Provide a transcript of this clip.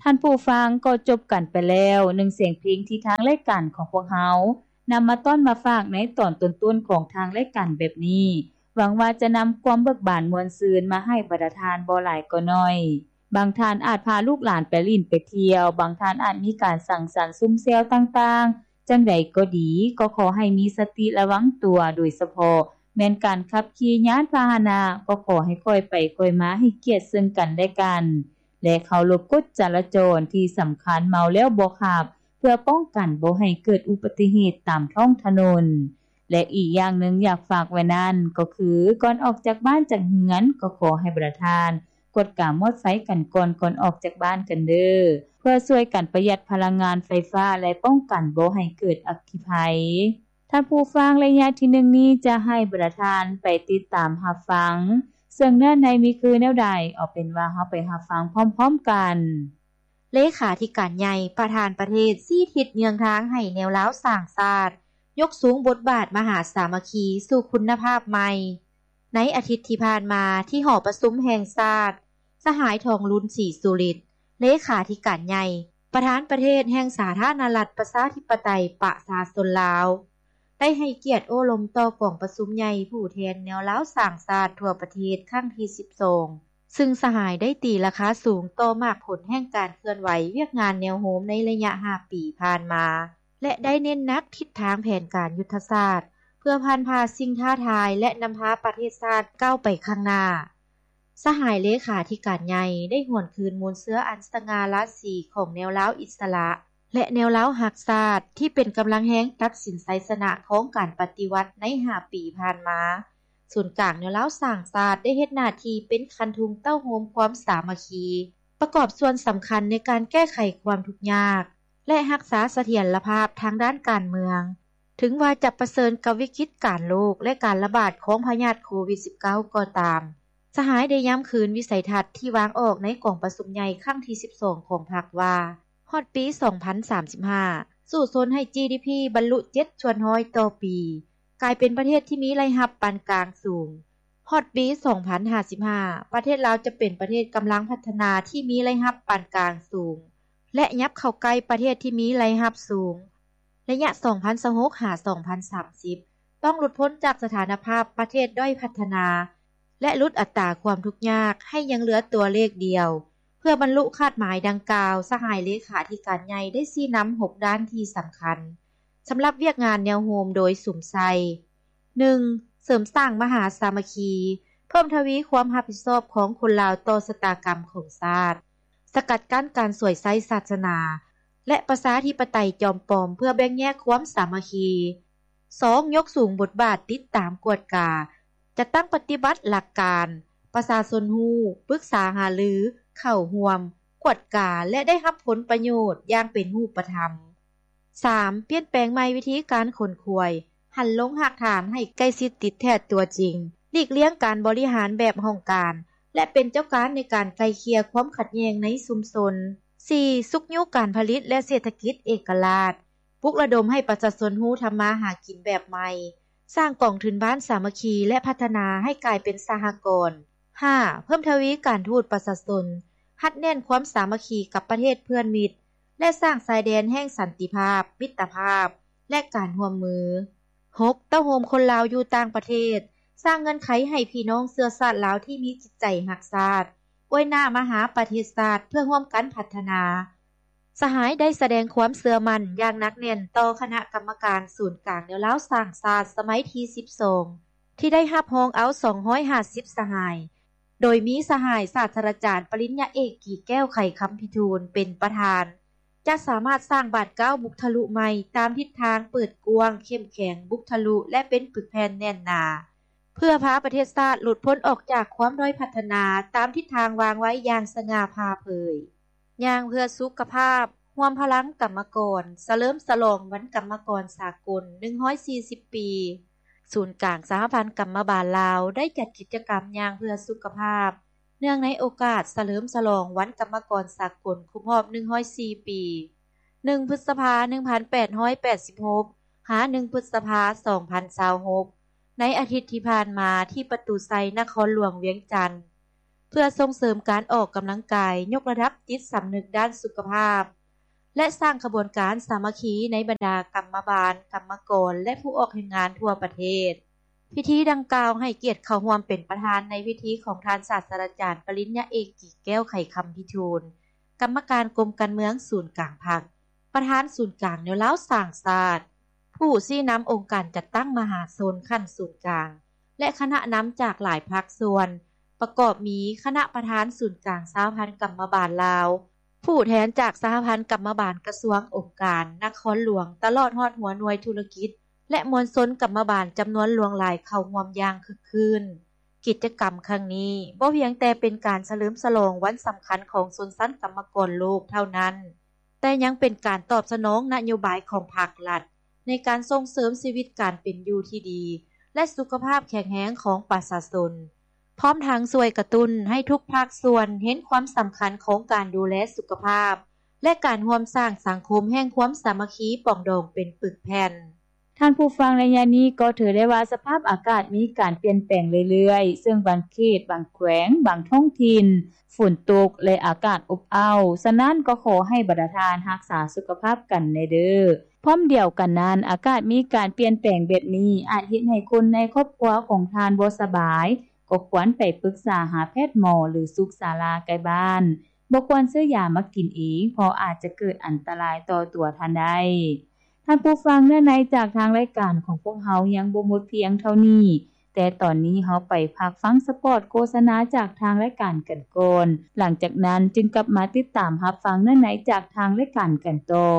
ທ່ານຜູ້ຟັງ, ກໍຈົບກັນໄປແລ້ວ ໜຶ່ງສຽງເພງທີ່ທາງລາຍການຂອງພວກເຮົານຳມາຕ້ອນມາຝາກໃນຕອນຕົ້ນໆຂອງທາງລາຍການແບບນີ້. ຫວັງວ່າຈະນຳຄວາມເບີກບານມ່ວນຊື່ນມາໃຫ້ບັນດາທ່ານບໍ່ຫຼາຍກໍໜ້ອຍ. ບາງທ່ານອາດພາລູກຫຼານໄປຫຼິ້ນໄປທ່ຽວ, ບາງທ່ານອາດມີການສັງສັນຊຸມແຊວຕ່າງໆ. ຈັ່ງໃດກໍດີ, ກໍຂໍໃຫ້ມີສະຕິລະວັງຕົວ, ໂດຍສະເພາະແມ່ນການຂັບຂີ່ຍານພາຫະນະ, ກໍຂໍໃຫ້ຄ່ອຍໄປຄ່ອຍມາ, ໃຫ້ກຽດເຊິ່ງກັນແລະກັນ ແລະ ເຄົາລົບກົດຈະລາຈອນ. ທີ່ສຳຄັນ, ເມົາແລ້ວບໍ່ຂັບ, ເພື່ອປ້ອງກັນບໍ່ໃຫ້ເກີດອຸບັດຕິເຫດຕາມທ້ອງຖະໜົນ. ແລະ ອີກຢ່າງໜຶ່ງຢາກຝາກໄວ້ນັ້ນກໍຄື, ກ່ອນອອກຈາກບ້ານຈາກເຮືອນ, ກໍຂໍໃຫ້ບັນດາທ່ານກວດກາມອດໄຟກັນກ່ອນ, ກ່ອນອອກຈາກບ້ານກັນເດີ້, ເພື່ອຊ່ວຍກັນປະຢັດພະລັງງານໄຟຟ້າ ແລະ ປ້ອງກັນບໍ່ໃຫ້ເກີດອັກຄີໄພ. ທ່ານຜູ້ຟັງ, ໄລຍະທີໜຶ່ງນີ້ຈະໃຫ້ບັນດາທ່ານໄປຕິດຕາມຮັບຟັງ ເຊິ່ງເນື້ອໃນມີຄືແນວໃດ, ເອົາເປັນວ່າເຮົາໄປຮັບຟັງພ້ອມໆກັນ. ເລຂາທິການໃຫຍ່ ປະທານປະເທດ ຊີ້ທິດເຍືອງທາງໃຫ້ແນວລາວສ້າງຊາດ ຍົກສູງບົດບາດມະຫາສາມັກຄີສູ່ຄຸນນະພາບໃໝ່. ໃນອາທິດທີ່ຜ່ານມາ ທີ່ຫໍປະຊຸມແຫ່ງຊາດ, ສະຫາຍ ທອງລຸນ ສີສຸລິດ, ເລຂາທິການໃຫຍ່ ປະທານປະເທດແຫ່ງສາທາລະນະລັດ ປະຊາທິປະໄຕ ປະຊາຊົນລາວ ໄດ້ໃຫ້ກຽດໂອ້ລົມຕໍ່ກອງປະຊຸມໃຫຍ່ຜູ້ແທນແນວລາວສ້າງຊາດທົ່ວປະເທດຄັ້ງທີສິບສອງ ຊຶ່ງສະຫາຍໄດ້ຕີລາຄາສູງຕໍ່ໝາກຜົນແຫ່ງການເຄື່ອນໄຫວວຽກງານແນວໂຮມໃນໄລຍະຫ້າປີຜ່ານມາ ແລະ ໄດ້ເນັ້ນໜັກທິດທາງແຜນການຍຸດທະສາດ ເພື່ອຜ່ານຜ່າສິ່ງທ້າທາຍ ແລະ ນຳພາປະເທດຊາດກ້າວໄປຂ້າງໜ້າ. ສະຫາຍເລຂາທິການໃຫຍ່ໄດ້ຫວນຄືນມູນເຊື້ອອັນສະຫງ່າລາສີຂອງແນວລາວອິດສະຫຼະ ແລະ ແນວລາວຮັກຊາດ ທີ່ເປັນກຳລັງແຮງຕັດສິນໄຊຊະນະຂອງການປະຕິວັດໃນຫ້າປີຜ່ານມາ. ສູນກາງແນວລາວສ້າງຊາດໄດ້ເຮັດໜ້າທີ່ເປັນຄັນທຸງເຕົ້າໂຮມຄວາມສາມັກຄີ, ປະກອບສ່ວນສຳຄັນໃນການແກ້ໄຂຄວາມທຸກຍາກ ແລະ ຮັກສາສະຖຽນລະພາບທາງດ້ານການເມືອງ. ເຖິງວ່າຈະປະເຊີນກັບວິກິດການໂລກ ແລະ ການລະບາດຂອງພະຍາດໂຄວິດສິບເກົ້າກໍຕາມ, ສະຫາຍໄດ້ຢ້ຳຄືນວິໄສທັດທີ່ວາງອອກໃນກອງປະຊຸມໃຫຍ່ຄັ້ງທີສິບສອງຂອງພັກວ່າ, ຮອດປີສອງພັນສາມສິບຫ້າ ສູ້ຊົນໃຫ້ ຈີດີພີ ບັນລຸເຈັດສ່ວນຮ້ອຍຕໍ່ປີ, ກາຍເປັນປະເທດທີ່ມີລາຍຮັບປານກາງສູງ. ຮອດປີສອງພັນຫ້າສິບຫ້າ ປະເທດລາວຈະເປັນປະເທດກຳລັງພັດທະນາທີ່ມີລາຍຮັບປານກາງສູງ ແລະ ຫຍັບເຂົ້າໃກ້ປະເທດທີ່ມີລາຍຮັບສູງ. ໄລຍະສອງພັນຊາວຫົກ ຫາ ສອງພັນສາມສິບ ຕ້ອງຫຼຸດພົ້ນຈາກສະຖານະພາບປະເທດດ້ອຍພັດທະນາ ແລະ ຫຼຸດອັດຕາຄວາມທຸກຍາກໃຫ້ຍັງເຫຼືອຕົວເລກດຽວ. ເພື່ອບັນລຸຄາດໝາຍດັ່ງກ່າວ, ສະຫາຍເລຂາທິການໃຫຍ່ໄດ້ຊີ້ນຳຫົກດ້ານທີ່ສຳຄັນ ສຳລັບວຽກງານແນວໂຮມໂດຍສຸມໃສ່, ໜຶ່ງ ເສີມສ້າງມະຫາສາມັກຄີ, ເພີ່ມທະວີຄວາມຮັບຜິດຊອບຂອງຄົນລາວຕໍ່ຊະຕາກຳຂອງຊາດ, ສະກັດກັ້ນການສວຍໃຊ້ສາສະໜາ ແລະ ປະຊາທິປະໄຕຈອມປອມ ເພື່ອແບ່ງແຍກຄວາມສາມັກຄີ. ສອງ ຍົກສູງບົດບາດຕິດຕາມກວດກາ, ຈັດຕັ້ງປະຕິບັດຫຼັກການ, ປະຊາຊົນຮູ້, ປຶກສາຫາລື, ເຂົ້າຮ່ວມ, ກວດກາ ແລະ ໄດ້ຮັບຜົນປະໂຫຍດຢ່າງເປັນຮູບປະທຳ. ສາມ ປ່ຽນແປງໃໝ່ວິທີການຂົນຂວາຍ, ຫັນລົງຮາກຖານໃຫ້ໃກ້ຊິດຕິດແທດຕົວຈິງ, ຫຼີກລ່ຽງການບໍລິຫານແບບຫ້ອງການ ແລະ ເປັນເຈົ້າການໃນການໄກ່ເກ່ຍຄວາມຂັດແຍ່ງໃນຊຸມຊົນ. ສີ່ ຊຸກຍູ້ການຜະລິດ ແລະ ເສດຖະກິດເອກະລາດ, ປຸກລະດົມໃຫ້ປະຊາຊົນຮູ້ທຳມາຫາກິນແບບໃໝ່, ສ້າງກອງທຶນບ້ານສາມັກຄີ ແລະ ພັດທະນາໃຫ້ກາຍເປັນສະຫະກອນ. ຫ້າ ເພີ່ມທະວີການທູດປະຊາຊົນ, ຮັດແໜ້ນຄວາມສາມັກຄີກັບປະເທດເພື່ອນມິດ ແລະ ສ້າງຊາຍແດນແຫ່ງສັນຕິພາບ, ມິດຕະພາບ ແລະ ການຮ່ວມມື. ຫົກ ເຕົ້າໂຮມຄົນລາວຢູ່ຕ່າງປະເທດ, ສ້າງເງື່ອນໄຂໃຫ້ພີ່ນ້ອງເຊື້ອຊາດລາວທີ່ມີຈິດໃຈຮັກຊາດ ອວຍໜ້າມາຫາປະເທດຊາດເພື່ອຮ່ວມກັນພັດທະນາ. ສະຫາຍໄດ້ສະແດງຄວາມເຊື່ອໝັ້ນຢ່າງໜັກແໜ້ນຕໍ່ຄະນະກຳມະການສູນກາງແນວລາວສ້າງຊາດສະໄໝທີສິບສອງ ທີ່ໄດ້ຮັບຮອງເອົາສອງຮ້ອຍຫ້າສິບສະຫາຍ, ໂດຍມີສະຫາຍສາດສະດາຈານປະລິນຍາເອກ ກີແກ້ວ ໄຂຄຳພິທູນ ເປັນປະທານ, ຈະສາມາດສ້າງບາດກ້າວບຸກທະລຸໃໝ່ຕາມທິດທາງເປີດກວ້າງ, ເຂັ້ມແຂງ, ບຸກທະລຸ ແລະ ເປັນປຶກແຜ່ນແໜ້ນໜາ, ເພື່ອພາປະເທດຊາດຫຼຸດພົ້ນອອກຈາກຄວາມດ້ອຍພັດທະນາຕາມທິດທາງວາງໄວ້ຢ່າງສະຫງ່າຜ່າເຜີຍ. ຍ່າງເພື່ອສຸຂະພາບ, ຮວມພະລັງກຳມະກອນ, ສະເຫຼີມສະຫຼອງວັນກຳມະກອນສາກົນ ໜຶ່ງຮ້ອຍສີ່ສິບປີ. ສູນກາງສະຫະພັນກຳມະບານລາວ ໄດ້ຈັດກິດຈະກຳຍ່າງເພື່ອສຸຂະພາບ ເນື່ອງໃນໂອກາດສະເຫຼີມສະຫຼອງວັນກຳມະກອນສາກົນຄົບຮອບ ໜຶ່ງຮ້ອຍສີ່ປີ, ໜຶ່ງ ພຶດສະພາ ໜຶ່ງພັນແປດຮ້ອຍແປດສິບຫົກ ຫາ ໜຶ່ງ ພຶດສະພາ ສອງພັນຊາວຫົກ ໃນອາທິດທີ່ຜ່ານມາ ທີ່ປະຕູໄຊ ນະຄອນຫຼວງວຽງຈັນ. ເພື່ອສົ່ງເສີມການອອກກຳລັງກາຍ, ຍົກລະດັບຈິດສຳນຶກດ້ານສຸຂະພາບ ແລະ ສ້າງຂະບວນການສາມັກຄີໃນບັນດາກຳມະບານ, ກຳມະກອນ ແລະ ຜູ້ອອກແຮງງານທົ່ວປະເທດ. ພິທີດັ່ງກ່າວໃຫ້ກຽດເຂົ້າຮ່ວມເປັນປະທານໃນພິທີຂອງທ່ານສາດສະດາຈານປະລິນຍາເອກ ກີແກ້ວ ໄຂຄຳພິທູນ, ກຳມະການກົມການເມືອງສູນກາງພັກ, ປະທານສູນກາງແນວລາວສ້າງຊາດ, ຜູ້ຊີ້ນຳອົງການຈັດຕັ້ງມະຫາຊົນຂັ້ນສູນກາງ ແລະ ຄະນະນຳຈາກຫຼາຍພາກສ່ວນ, ປະກອບມີຄະນະປະທານສູນກາງສະຫະພັນກຳມະບານລາວ, ຜູ້ແທນຈາກສະຫະພັນກຳມະບານກະຊວງ, ອົງການ, ນະຄອນຫຼວງ, ຕະຫຼອດຮອດຫົວໜ່ວຍທຸລະກິດ ແລະ ມວນຊົນກຳມະບານຈຳນວນຫຼວງຫຼາຍເຂົ້າຮ່ວມຢ່າງຄຶກຄື້ນ. ກິດຈະກຳຄັ້ງນີ້ບໍ່ພຽງແຕ່ເປັນການສະເຫຼີມສະຫຼອງວັນສຳຄັນຂອງຊົນຊັ້ນກຳມະກອນໂລກເທົ່ານັ້ນ, ແຕ່ຍັງເປັນການຕອບສະໜອງນະໂຍບາຍຂອງພາກລັດ ໃນການສົ່ງເສີມຊີວິດການເປັນຢູ່ທີ່ດີ ແລະ ສຸຂະພາບແຂງແຮງຂອງປະຊາຊົນ, ພ້ອມທັງຊ່ວຍກະຕຸ້ນໃຫ້ທຸກພາກສ່ວນເຫັນຄວາມສຳຄັນຂອງການດູແລສຸຂະພາບ ແລະ ການຮ່ວມສ້າງສັງຄົມແຫ່ງຄວາມສາມັກຄີປອງດອງເປັນປຶກແຜ່ນ. ທ່ານຜູ້ຟັງ, ໄລຍະນີ້ກໍຖືໄດ້ວ່າສະພາບອາກາດມີການປ່ຽນແປງເລື້ອຍໆ, ເຊິ່ງບາງເຂດ, ບາງແຂວງ, ບາງທ້ອງຖິ່ນ ຝົນຕົກ ແລະ ອາກາດອົບເອົ້າ. ສະນັ້ນກໍຂໍໃຫ້ບັນດາທ່ານຮັກສາສຸຂະພາບກັນແດ່ເດີ້. ພ້ອມດຽວກັນນັ້ນ, ອາກາດມີການປ່ຽນແປງແບບນີ້ ອາດເຮັດໃຫ້ຄົນໃນຄອບຄົວຂອງທ່ານບໍ່ສະບາຍ, ກໍຄວນໄປປຶກສາຫາແພດໝໍ ຫຼື ສຸກສາລາໃກ້ບ້ານ. ບໍ່ຄວນຊື້ຢາມາກິນເອງ, ເພາະອາດຈະເກີດອັນຕະລາຍຕໍ່ຕົວທ່ານໄດ້. ທ່ານຜູ້ຟັງ, ເນື້ອໃນຈາກທາງລາຍການຂອງພວກເຮົາຍັງບໍ່ໝົດພຽງເທົ່ານີ້, ແຕ່ຕອນນີ້ເຮົາໄປພັກຟັງສະປອດໂຄສະນາຈາກທາງລາຍການກັນກ່ອນ, ຫຼັງຈາກນັ້ນຈຶ່ງກັບມາຕິດຕາມຮັບຟັງເນື້ອໃນຈາກທາງລາຍການກັນຕໍ່.